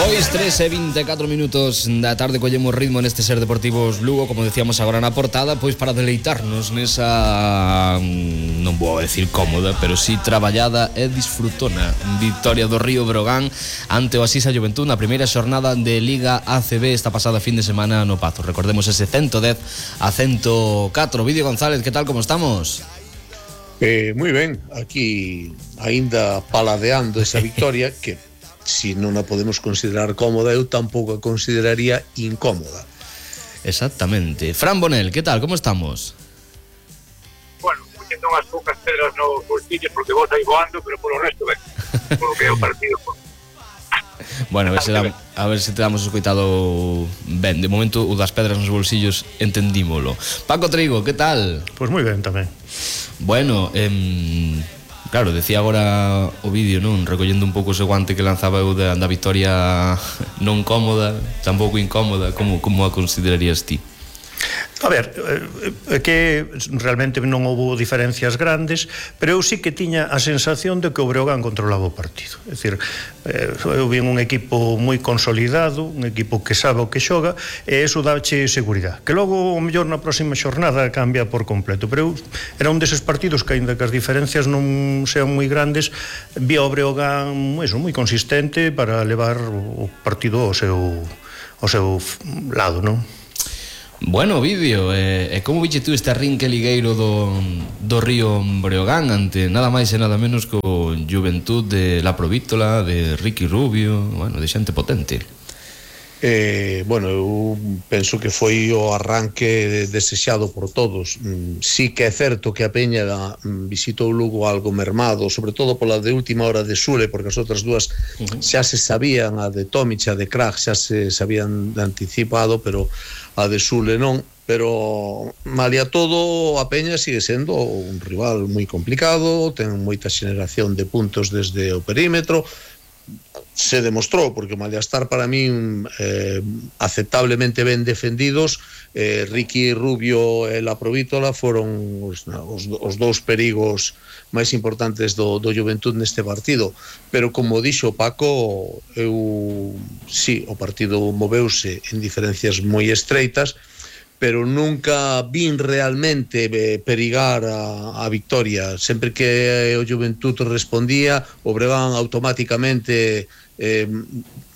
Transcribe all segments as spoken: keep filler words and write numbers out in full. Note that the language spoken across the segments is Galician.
Pois tres e vinte e catro minutos da tarde collemos ritmo neste Ser Deportivos Lugo, como decíamos agora na portada, pois para deleitarnos nesa, non vou decir cómoda, pero sí traballada e disfrutona victoria do Río Breogán ante o Asisa Juventud na primeira xornada de Liga A C B esta pasada fin de semana no Pazo. Recordemos ese ciento dez a ciento catro. Vídeo González, que tal, como estamos? Eh, moi ben, aquí aínda paladeando esa victoria que si non a podemos considerar cómoda, eu tampouco a consideraría incómoda. Exactamente. Fran Bonel, que tal, como estamos? Bueno, poniendo unhas poucas pedras nos bolsillos porque vos aí voando, pero polo resto ben, polo que é o partido. Bueno, a ver se da, a ver se te damos escoitado ben. De momento o das pedras nos bolsillos entendímolo. Paco Trigo, que tal? Pois moi ben tamén. Bueno, eh, claro, decía agora o vídeo, non? Recollendo un pouco ese guante que lanzaba eu da, da victoria non cómoda, tampouco incómoda. Como, como a considerarías ti? A ver, é que realmente non houve diferencias grandes, pero eu sí que tiña a sensación de que o Breogán controlaba o partido. É dicir, eu vi un equipo moi consolidado, un equipo que sabe o que xoga, e iso dáche seguridade. Que logo, o mellor, na próxima xornada cambia por completo, pero eu, era un deses partidos que, aínda que as diferencias non sean moi grandes, vi o Breogán eso, moi consistente para levar o partido ao seu, ao seu lado, non? Bueno, vídeo, e eh, como viche tú este arrinque ligueiro do, do Río Breogán ante nada máis e nada menos co Juventud de La Provítola, de Ricky Rubio, bueno, de xente potente? Eh, bueno, eu penso que foi o arranque desexado por todos. Sí que é certo que a Peña visitou Lugo algo mermado, sobre todo pola de última hora de Sule, porque as outras dúas uh-huh. xa se sabían, a de Tomic, a de Krag xa se sabían anticipado, pero a de Sule non. Pero malia todo, a Peña sigue sendo un rival moi complicado, ten moita xeneración de puntos desde o perímetro. Se demostrou, porque Mallastar para min eh, aceptablemente ben defendidos. eh, Ricky Rubio e La Provítola foron os, os, os dous perigos máis importantes do, do Juventud neste partido, pero como dixo Paco, eu sí, o partido moveuse en diferencias moi estreitas, pero nunca vin realmente eh, perigar a, a victoria. Sempre que o Juventud respondía, o Breogán automáticamente eh,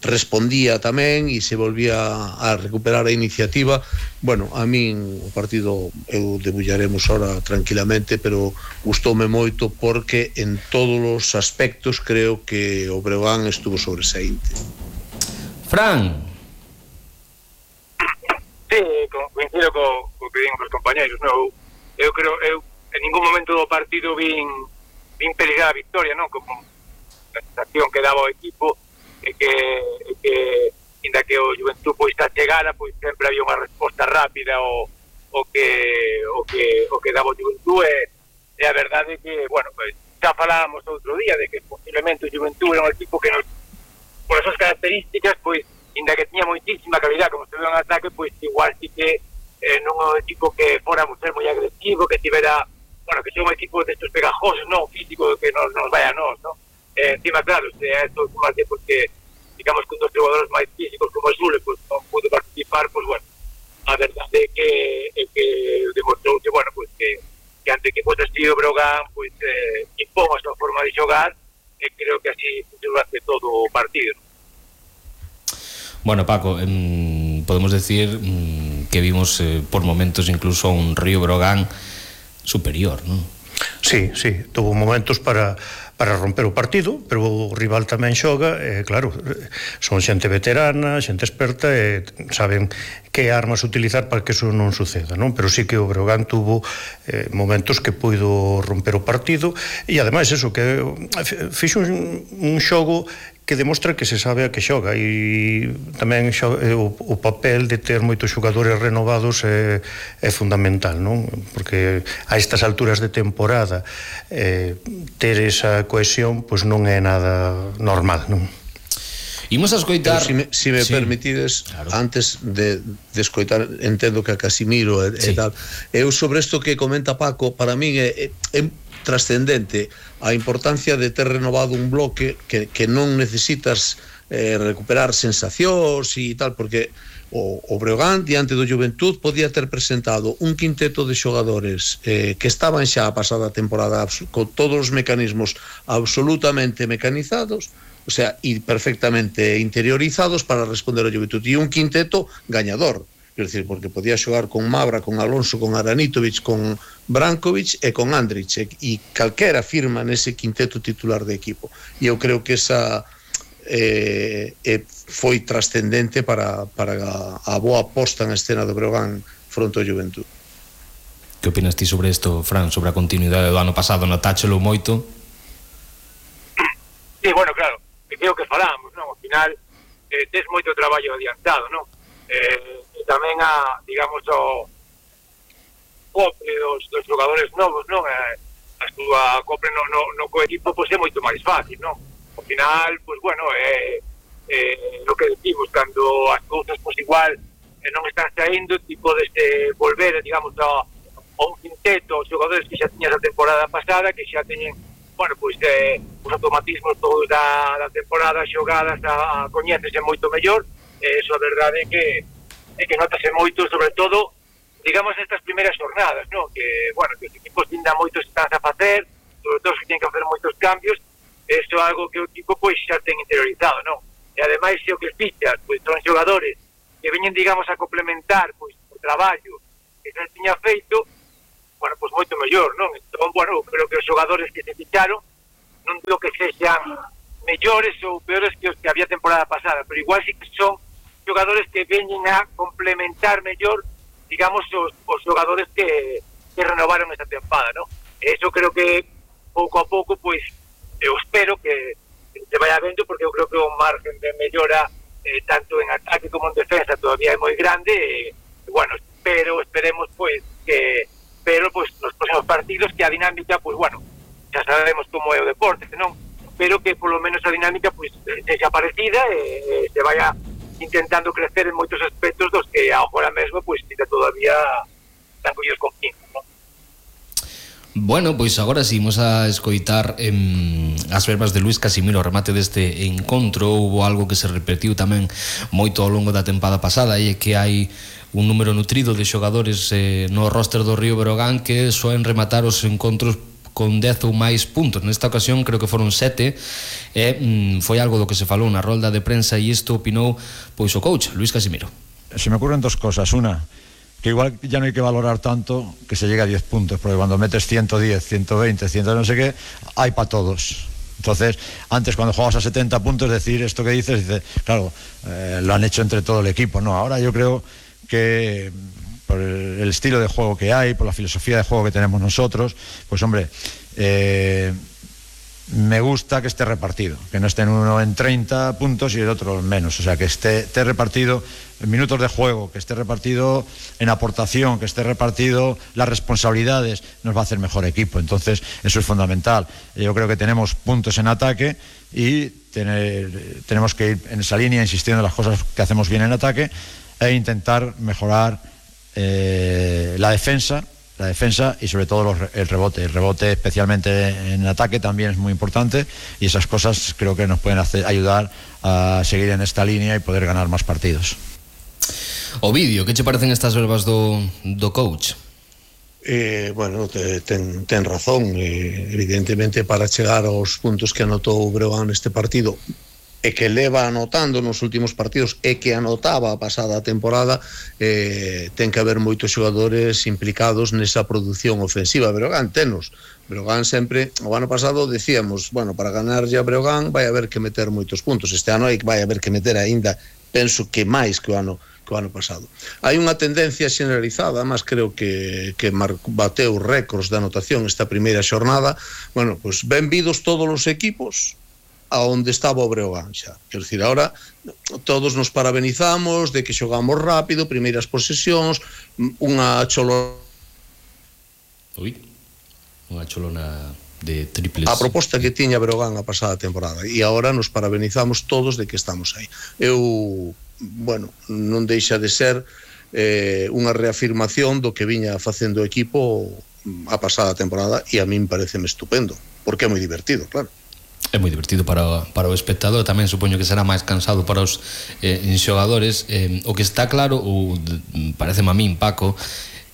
respondía tamén e se volvía a recuperar a iniciativa. Bueno, a min o partido eu debullaremos ahora tranquilamente, pero gustoume moito porque en todos os aspectos creo que o Breogán estuvo sobresaínte. Fran. Sí, coincido co, co que din os compañeros, non? Eu creo, eu en ningún momento do partido vin vin perigar a victoria, non? Como a sensación que daba o equipo e que, e que inda que o Juventud pois a chegara, pois sempre había unha resposta rápida o, o que o que o que daba o Juventud, e, e a verdade é que, bueno, pois xa falábamos outro día de que posiblemente o Juventud era un equipo que nos, por esas características, pois inda que tiña moitísima calidad, como se ve en ataque, pois igual sí que eh, non é un equipo que fora ser moi agresivo, que tivera, bueno, que sea un equipo destes pegajosos, non físico, que nos, nos vaya a nos, non? Eh, encima, claro, se é esto máis de porque, digamos, que un dos jugadores máis físicos como o Sule, pois non pudo participar, pois bueno, a verdade é que, é que demostrou que, bueno, pois que, que ante que pois así o Breogán, pois eh, impón a súa forma de xogar, e creo que así durante todo o partido, non? Bueno, Paco, eh, podemos decir eh, que vimos eh, por momentos incluso un Río Breogán superior, ¿no? Sí, sí, tuvo momentos para para romper o partido, pero o rival tamén xoga, e claro, son xente veterana, xente experta, e saben que armas utilizar para que eso non suceda, non? Pero sí que o Breogán tuvo eh, momentos que puido romper o partido, e ademais eso, que fixo un, un xogo que demostra que se sabe a que xoga, e tamén xoga, o, o papel de ter moitos xogadores renovados é, é fundamental, non? Porque a estas alturas de temporada eh, ter esa cohesión pois non é nada normal, non? Imos a escoitar... Pero si me, si me sí, permitides, claro. Antes de, de escoitar, entendo que a Casimiro e, sí. e tal, eu sobre isto que comenta Paco, para min é, é, é trascendente a importancia de ter renovado un bloque que, que non necesitas eh, recuperar sensacións e tal, porque o, o Breogán diante do Juventud podía ter presentado un quinteto de xogadores eh, que estaban xa a pasada temporada con todos os mecanismos absolutamente mecanizados, o sea, e perfectamente interiorizados para responder ao Juventud, e un quinteto gañador. Quer dizer, porque podía xogar con Mabra, con Alonso, con Aranitovic, con Brankovic e con Andrić, e calquera firma nese quinteto titular de equipo. E eu creo que esa eh, eh, foi trascendente para, para a, a boa posta en escena do Breogán fronte ao Juventud. Que opinas ti sobre isto, Fran, sobre a continuidade do ano pasado? Notáchelo moito? Sí, bueno, claro, é o que falamos, non? Ao final, eh, tes moito traballo adiantado, non? Eh, tamén a, digamos, o copre dos, dos xogadores novos, non? Eh, a súa copre no, no, no coequipo pois é moito máis fácil, non? Ao final, pois bueno, é eh, eh, o que decimos, cando as cousas pois igual eh, non están saindo, ti podes eh, volver, digamos, a, a un quinteto, os xogadores que xa tiñas a temporada pasada, que xa teñen, bueno, pois eh, os automatismos todos da, da temporada xogadas, a, a coñécese moito mellor. Eh, eso a verdade é que é que notase moito, sobre todo, digamos, estas primeiras jornadas, ¿no? Que, bueno, que os equipos ainda moitos están a facer, sobre todo que tienen que facer moitos cambios, eso é algo que o equipo, pois, xa ten interiorizado, ¿no? E, ademais, se o que fichas, pois, son xogadores que veñen, digamos, a complementar, pois, o traballo que se tiña feito, bueno, pois, moito mellor, ¿non? Entón, bueno, creo que os xogadores que se ficharon, non digo que sexan mellores ou peores que os que había temporada pasada, pero igual sí que son xogadores que veñen a complementar mellor, digamos, os, os xogadores que, que renovaron esta tempada, ¿no? Eso creo que pouco a pouco, pois, eu espero que se vaya vendo, porque eu creo que o margen de mellora eh, tanto en ataque como en defensa todavía é moi grande, e, e bueno, espero, esperemos, pois, que pero, pois, nos próximos partidos que a dinámica, pois, bueno, xa sabemos como é o deporte, non? Pero que polo menos a dinámica, pois, sexa parecida e, e se vaya intentando crecer en moitos aspectos dos que agora mesmo, pois, ainda todavía están collidos con pinzas, non? Bueno, pois agora si imos a escoitar em, as verbas de Luís Casimiro ao remate deste encontro. Houbo algo que se repetiu tamén moito ao longo da tempada pasada, e é que hai un número nutrido de xogadores eh, no roster do Río Breogán que soen rematar os encontros con dez ou máis puntos. Nesta ocasión creo que foron sete, e mm, foi algo do que se falou na rolda de prensa, e isto opinou pois o coach Luís Casimiro. Se me ocurren dos cosas. Una, que igual ya no hay que valorar tanto que se llegue a diez puntos, porque cuando metes ciento diez, ciento veinte, cien no sé qué, hay para todos. Entonces, antes cuando jugabas a setenta puntos, decir esto que dices, dice, claro, eh, lo han hecho entre todo el equipo. No, ahora yo creo que por el estilo de juego que hay, por la filosofía de juego que tenemos nosotros, pues hombre, eh, me gusta que esté repartido, que no esté en uno en treinta puntos y el otro en menos, o sea, que esté, esté repartido en minutos de juego, que esté repartido en aportación, que esté repartido las responsabilidades, nos va a hacer mejor equipo. Entonces eso es fundamental. Yo creo que tenemos puntos en ataque y tener, tenemos que ir en esa línea, insistiendo en las cosas que hacemos bien en ataque e intentar mejorar eh, la defensa la defensa y sobre todo los, el rebote el rebote especialmente en ataque también es muy importante, y esas cosas creo que nos pueden hacer, ayudar a seguir en esta línea y poder ganar más partidos. Ovidio, que che parecen estas verbas do, do coach? Eh, bueno, te, ten, ten razón, eh, evidentemente para chegar aos puntos que anotou o Breogán neste partido e que leva anotando nos últimos partidos e que anotaba a pasada temporada, eh, ten que haber moitos xogadores implicados nesa produción ofensiva. Breogán tenos, Breogán sempre, o ano pasado decíamos, bueno, para ganar ya Breogán vai haber que meter moitos puntos, este ano hai, vai haber que meter aínda, penso que máis que o ano que o ano pasado. Hai unha tendencia generalizada, mas creo que, que bateu récords de anotación esta primeira xornada. Bueno, pois pues, benvidos todos os equipos a onde estaba o Breogán xa. Quer dicir, ahora todos nos parabenizamos de que xogamos rápido, primeiras posesións, unha cholo... Ui, unha cholona de triples. A proposta que tiña Breogán a pasada temporada, e agora nos parabenizamos todos de que estamos aí. Eu, bueno, non deixa de ser eh, unha reafirmación do que viña facendo o equipo a pasada temporada, e a min pareceme estupendo, porque é moi divertido, claro. É moi divertido para, para o espectador, tamén supoño que será máis cansado para os eh, xogadores. Eh, o que está claro, ou pareceme a min, Paco,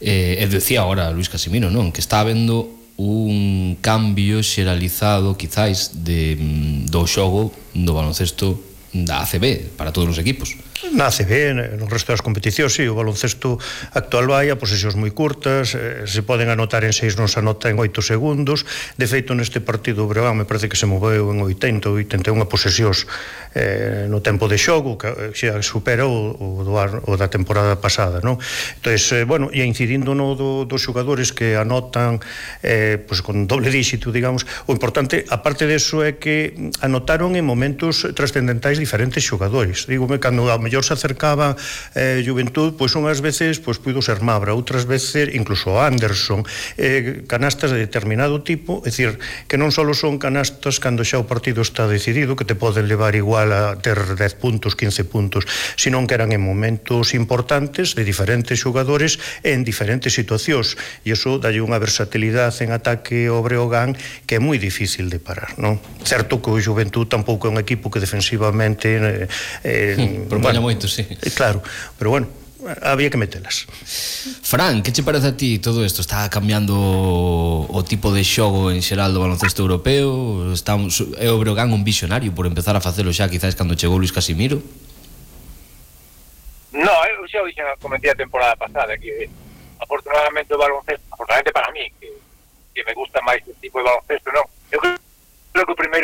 eh, e decía agora Luis Casimiro, non? Que está habendo un cambio xeralizado, quizáis, de, do xogo do baloncesto da A C B para todos os equipos. Na A C B, no resto das competicións, sí, o baloncesto actual vai a posesións moi curtas, eh, se poden anotar en seis, non se anota en oito segundos. De feito, neste partido o Breogán me parece que se moveu en oitenta, oitenta e unha posesións eh, no tempo de xogo, que xa supera o, o, do, o da temporada pasada, non? Entón, eh, bueno, e incidindo no do, dos xogadores que anotan eh, pues, con doble díxito, digamos, o importante, aparte deso, é que anotaron en momentos trascendentais diferentes xogadores. Dígome, cando a mellor se acercaba eh, Juventud, pois unhas veces pois puido ser Mabra, outras veces incluso Anderson, eh, canastas de determinado tipo, é dicir, que non só son canastas cando xa o partido está decidido, que te poden levar igual a ter dez puntos, quince puntos, sino que eran en momentos importantes de diferentes xogadores en diferentes situacións, e iso dalle unha versatilidade en ataque ao Breogán que é moi difícil de parar, non? Certo que o Juventud tampouco é un equipo que defensivamente eh, eh, propoña moito, sí. Claro, pero bueno, había que metelas. Fran, que che parece a ti todo isto? Está cambiando o tipo de xogo en xeral do baloncesto europeo? Está, é o Breogán un visionario por empezar a facelo xa quizás cando chegou Luis Casimiro? No, eu xa o dixen a comentar a temporada pasada que afortunadamente o baloncesto, afortunadamente para mí, que, que me gusta máis este tipo de baloncesto, non? Eu creo que o primeiro